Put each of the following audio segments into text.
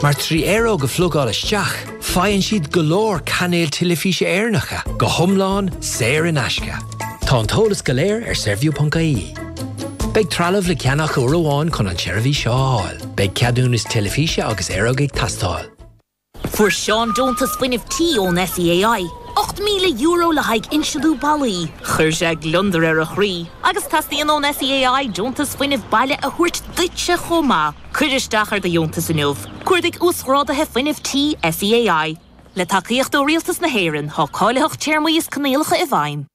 Mar 3 aeróg a phlugáil isteach, faigheann siad go leor cainéil teilifíse Éireannacha go hiomlán saor in aisce. Tá an t-eolas go léir ar saorview.ie. Beidh trealamh le ceannach uair amháin chun an tseirbhís seo a fháil. Beidh ceadúnas teilifíse agus aeróg ag teastáil. Fuair Seán deontas fuinnimh tí ón SEAI, €8,000 le haghaidh insealú ballaí. Chuir sé gliondar ar a chroí. Agus teastaíonn ón SEAI deontas fuinnimh baile a thabhairt duitse chomh maith. Cuir isteach ar do dheontas inniu. Cuardaigh Uasghráduithe Fuinnimh Tí SEAI. Le tacaíocht ó Rialtas na hÉireann, tá cáilitheacht téarmaí is coinníollacha i bhfeidhm.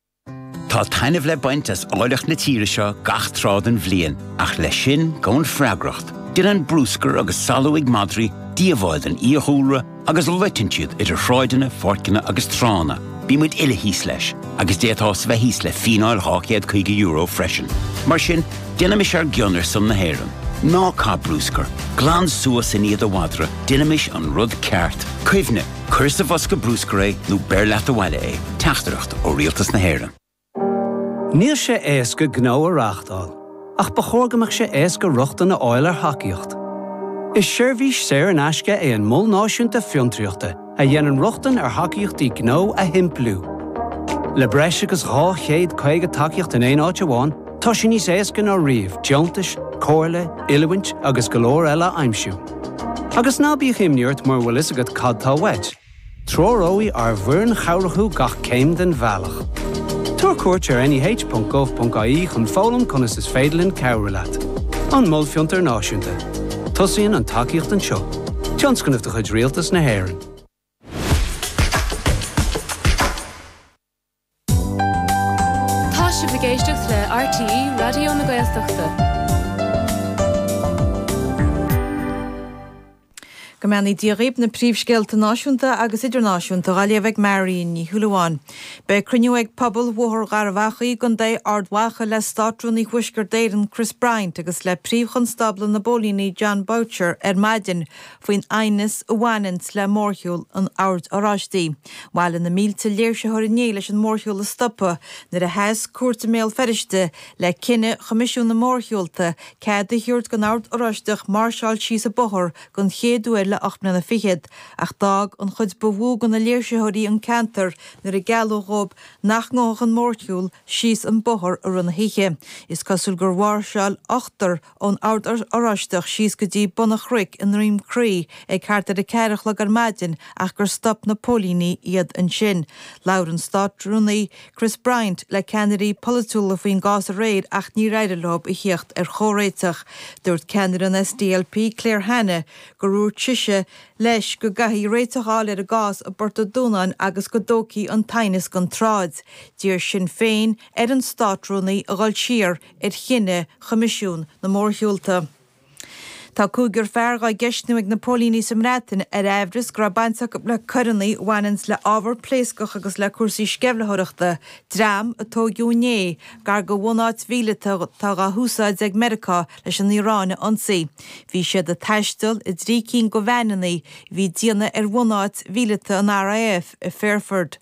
Tá taitneamh le baint as áilleacht na tíre seo gach tráth den bhliain, ach leis sin gabhann freagracht. Déanann bruscar agus salú ag madraí díobháil don fhiadhúlra agus loiteann siad idir shráideanna, pháirceanna agus tránna. Bíonn muid uile thíos leis, agus d'fhéadfá bheith thíos le fíneáil €250 freisin. Mar sin, déanaimis ár gcion ar son na hÉireann. Ná caith bruscar. Glan suas i ndiaidh do mhadra, déanaimis an rud ceart. Cuimhnigh! Cuir sa bhosca bruscair é nó beir leat abhaile é. Teachtaireacht ó Rialtas na hÉireann. Níl sé éasca gnó a reáchtáil, ach ba chóir go mbeadh sé éasca rochtain a fháil ar thacaíocht. Is seirbhís saor in aisce é an Mol Náisiúnta Fiontraíochta a dhéanann rochtain ar thacaíochtaí gnó a shimpliú. Le breis agus 250 tacaíocht in aon áit amháin, tá sé níos éasca ná riamh deontais, comhairle, oiliúint agus go leor eile a aimsiú. Agus ná bíodh imní ort mura bhfuil fhios agat cad tá uait. Treoróidh ár bhfoireann chabhrach thú gach céim den bhealach. Tabhair cuairt ar neh.gov.ie chun foghlaim conas is féidir linn cabhrú leat. An Mol Fiontair Náisiúnta. Tosaíonn an tacaíocht anseo. Tionscnamh de chuid Rialtas na hÉireann. Tá sibh ag éisteacht le RTÉ Raidió na Gaeltachta. Go mbeannaí Dia dhaoib, na príomhscéalta náisiúnta agus idirnáisiúnta dhá léamh ag Marion Ní Shúilleabháin. Beidh cruinniú ag pobal Bhóthar Gharbh Achaidh i gContae Ard Mhacha le Státrúnaí Thuaisceart Éireann Chris Bryant agus le Príomh-Chonstábla na bPóilíní Jon Boutcher ar maidin faoin aighneas a bhaineanns le mórshiúl an Oird Oráistigh. Bhailigh na mílte léirsitheoir inné leis an mórshiúl a stopadh nuair a sheas cúirt i mBéal Feirste le cinneadh Choimisiún na Mórshiúlta cead a thabhairt don Ord Oráisteach máirseáil síos an bóthar don chéad uair le 8 mbliana fichead ach d'fhág an chuid ba mhó de na léirsitheoirí an ceantar nuair a gealladh dhóibh nach ngabhfadh an mórshiúl síos an bóthar i rith na hoíche. Is cosúil gur mháirseáil ochtar ón Ord Oráisteach síos go dtí bun an chnoic i nDroim Crí ag thart ar 4 a chlog ar maidin ach gur stop na póilíní iad ansin. Labhair an Státrúnaí Chris Bryant le ceannairí polaitiúla faoin gcás aréir ach níor éirigh leo a thíocht ar chomhréiteach. Dúirt ceannaire an SDLP Claire Hanna gur dhúirt sise leis go gcaithfí réiteach a fháil ar an gcás i bPort an Dúnáin agus go dtógfaí an t-aighneas den tsráid. D'iarr Sinn Féin ar an Státrúnaí a dhul siar ar chinneadh Choimisiún na Mórshiúlta. Tá cúigear fear dhá gceistniú ag na póilíní sa mBreatain ar aimhreas go raibh baint acu le coireanna a bhaineanns le ábhar pléascach agus le cúrsaí sceimhlitheoireachta, dream a tóigeadh inné gar do bhunáit mhíleata atá dhá húsáid ag Meiriceá leis an Iaráin a ionsaí. Bhí siad ag taisteal i dtrí cinn de veaineanna a bhí ag déanamh ar bhunáit mhíleata an RAF i Fairford.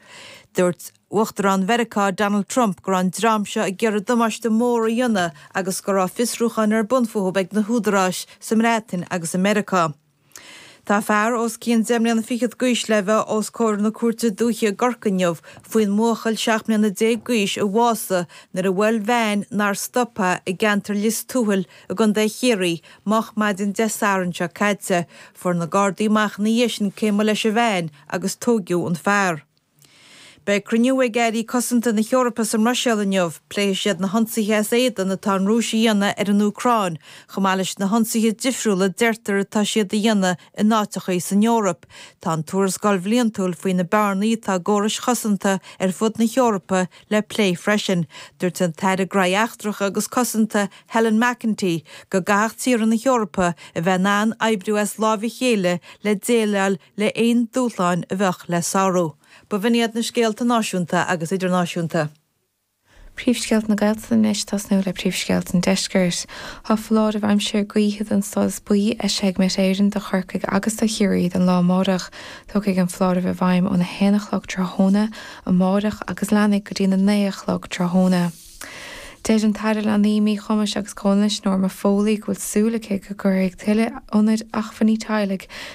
Dúirt. Uachtarán Mheiriceá Donald Trump go raibh an dream seo ag iarraidh damáiste mór a dhéanamh agus go raibh fiosrúcháin ar bun fúthu ag na húdaráis sa mBreatain agus i Meiriceá. Tá fear os cionn deich mbliana fichead d'aois le bheith os comhair na Cúirte Dúiche i gCorcaigh inniu faoin mbuachaill 17 mbliana d'aois a bhásaigh nuair a bhuail veain nár stop é i gceantar Lios Tuathail i gContae Chiarraí moch maidin Dé Sathairn seo caite. Fuair na Gardaí amach ina dhiaidh sin cé mba leis an veain agus tóigeadh an fear. Beidh cruinniú ag airí cosanta na hEorpa sa mBruiséil inniu. Pléifidh siad na hionsaithe as éadan atá an Rúis a dhéanamh ar an Úcráin, chomh maith leis na hionsaithe difriúla a deirtear atá siad a dhéanamh in áiteachaí san Eoraip. Tá an tuarascáil bhliantúil faoi na bearnaí atá i gcórais chosanta ar fud na hEorpa le plé freisin. Dúirt an tAire Gnóthaí Eachtracha agus Cosanta Helen McEntee go gcaithfeadh tíortha na hEorpa a bheith in ann oibriú as láimh a chéile le déileáil le aon dúshláin a bheadh le sárú. B'in iad na scéalta náisiúnta agus idirnáisiúnta. Príomhscéalta na Gaeltachta anois, tosnú le príomhscéalta an Deiscirt. Tá foláireamh aimsir gaoithe den stádas buí eisithe ag Met Éireann do Chorcaigh agus do Chiarraí don lá amárach. Tiocfaidh an foláireamh i bhfeidhm óna haon a chlog tráthnóna amárach agus leanfaidh go dtína naoi a chlog tráthnóna. Deir an tAire Leanaí, Míchumais agus Comhionannais Norma Foley go bhfuil súil aici go gcuirfidh tuilleadh ionaid acmhainní teaghlaigh.